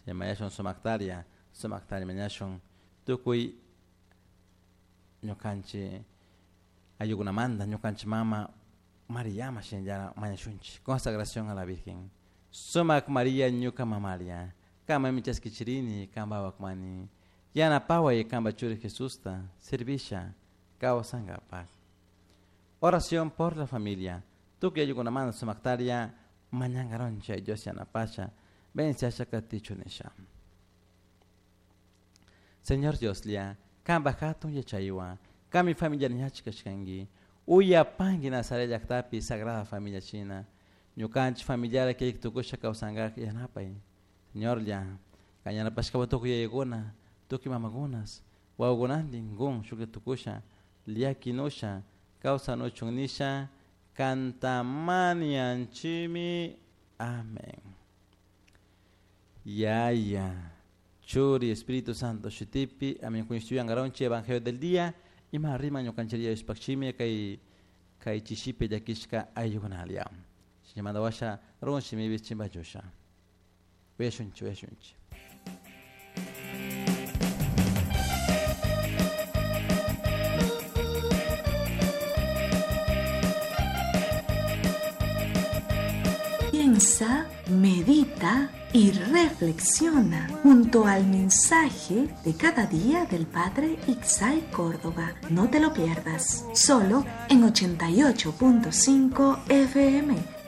Mañashun sumaktaria, sumaktaria mañashun tukuy ñukanchik ayllukunamanta, ñukanchik mama Mariama shinallara mañashunchik. Consagración a la Virgen. Sumak María ñuka mamaria, kama chaskichirini kanpa wakmani. Yanapaway kanpa churi Jesusta, servisha kawsankapak. Oración por la familia. Tukuy ayllukunamanta sumaktaria mañankaronchik Dios yanapasha, venciasha katichu nisha. Señor Dioslla, kanpa hatun yachaywan, kanmi familia ñachik kashkanki, uyapanki Nazaret llaqtapi Sagrada Familia shina, ñukanchik familiara kayki tukusha kawsankak yanapay. Señorlla, kan yanapashkawan tukuy yayakuna, tukuy mamakunas, wawakunantin kun shuklla tukusha, llakinusha, kawsanuchun nisha, kantamanianchimi. Amén. Yaya, Churi, Espíritu Santo, shutipi, amén. Kuñishtuyankaronchi Evangelio del día, ima rima ñukanchik Diospakchimi kay kay chishipi llakishka ayllukunalia. Shinamanta washa run shimipi chimpachusha. Uyashunchik, uyashunchik. Piensa, medita y reflexiona junto al mensaje de cada día del Padre Ixay Córdoba. No te lo pierdas, solo en 88.5 FM.